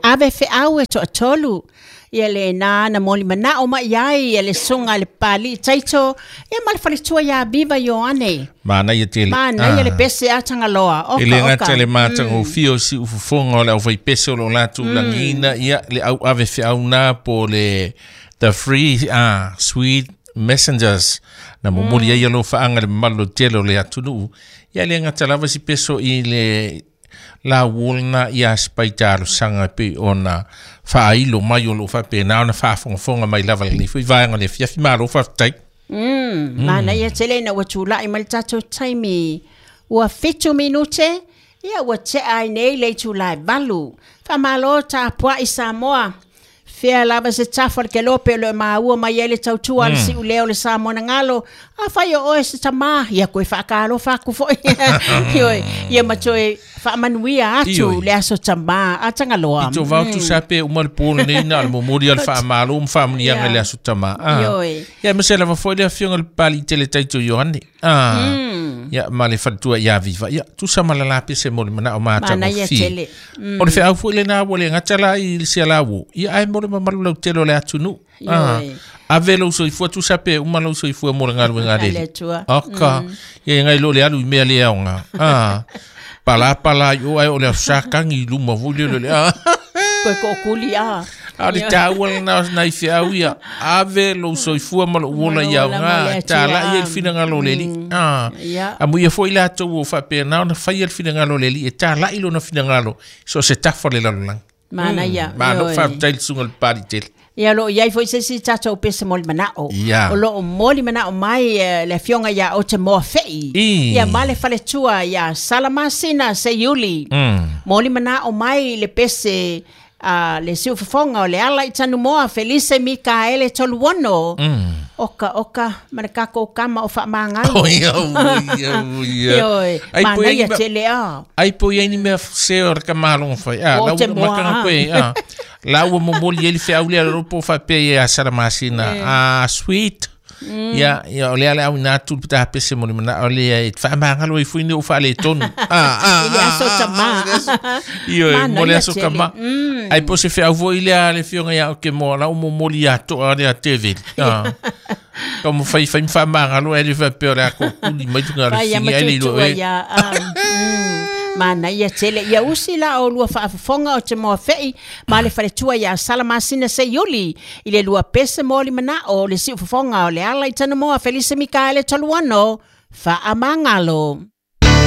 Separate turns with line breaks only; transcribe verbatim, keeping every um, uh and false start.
Ave feau e toatolu ia le na na moli manao mai ai ia le sunga le pali taito ia ma le faletua ia Viva Ioane.
Manaia tele.
Manaia le pese a Tagaloa. Oka
E le
oka.
gata le matagofie o siufofoga o le aufaipese o loo latou lagiina ia le au ave feauna po le the free ah sweet messengers na momoli ai alo faaga le mamalu tele o le atunuu ia le gata lava si peso i le la wolna ia spaita talosaga pe ona faailo mai o loo faapena ona faafogafoga mai lava lenei foi vaega le afiafi malo faafetai.
Mm, manaia tele ina ua tulai mai le tatou taimi ua fitu minute ia ua tea ai nei le itulā e valu. Faamalo tapuai Samoa. Fea lava se tafa o le kelope o loo maua mai ai le tautua a le siuleo o le Samoa na galo. Afai o oe se tamā, ia koe faakalofa atu foi. Ioe, ia ma toe faamanuia atu
Ioe.
le aso tamā a Tagaloa.
I to vau tu sa pe uma le pō lenei na o le momoli o le faamalo ma faamanuiaga i le aso tamā. Ah.
Ioe.
Ia ma se lava foi le afioga le Papali'i Tele Taito Ioane. Ah. Ia ma le faletua ia Viva. Ia tusa ma la pese mo le manao
Manaia
matagofie.
tele.
O le feau foi lena ua le gata la i le sialauo. Ia ae mo le mamalu lautele o le atunuu. Ah.
Ioe.
Ave lou soifua tusa pe uma lou soifua mo le galuega a le
A le
Alii.
Atua.
Aka. Ia ngai lo le alu i mea le aoga. Ah. Pala pala i o ai o le afusakagi i luma foi le le. Ah.
Koe kookuli a.
A o le taua lena o nai feau ia. Ave lou soifua ma lou ola i
Ma lou ola mo le
aoga.
Atua.
Tala'i ai le finagalo o le Alii. Ah.
Ia.
Amuia foi latou o faapena ona faia le finagalo o le Alii e tala'i lona finagalo so se tafa o le lalolagi.
Manaia.
Malo
Ioe.
faafetai le susuga i le Papali'i Tele.
Ia o loo iai foi se isi tatou pese moli manao.
Ia.
O loo moli manao mai eh, le afioga ia o te moa fei.
I.
Ia ma le faletua ia Salamasina Seiuli.
Mm.
Moli manao mai le pese a le siufofoga o le ala i Tanumoa Felise Mikaele Toluono.
Mm.
Oka oka ma le kakou kama o faamagalo.
Oh, ia, oh, ia, oh, ia.
Ioe,
Ai, po iai
manaia
ni mea-
tele a.
ai po iai ni mea se o le kamaloga fai. Ah,
O
lau
te moa,
makanga
ah.
koe. Ah. La ua momoli ai le feau lea lalo po faapea ia Salamasina. Ah, sweet. Ia, ia, o lea le auina atu le petaha pese mo le manao lea e faamagalo ai foi ni o faaletonu. Ah, ah,
I le
ah,
aso
ah,
tamā.
ah, le aso- Ioe, mo le
Manaia
aso
tele.
kama. Ai po se feau foi lea le afioga ia o ke moa lau momoli atoa lea teveli. Ah. Ka mo fai fai faamagalo ai le faapea o le a kokuli mai luga o le
Fai ia
figi ai le iloa
matutua
e.
ia. Ah, mm. Manaia tele. Ia usi la o lua faafofoga o te moa fei ma le faletua ia Salamasina Seiuli i le lua pese moli manao o le siufofoga o le ala i Tanamoa Felise Mikaele Toluono faamagalo.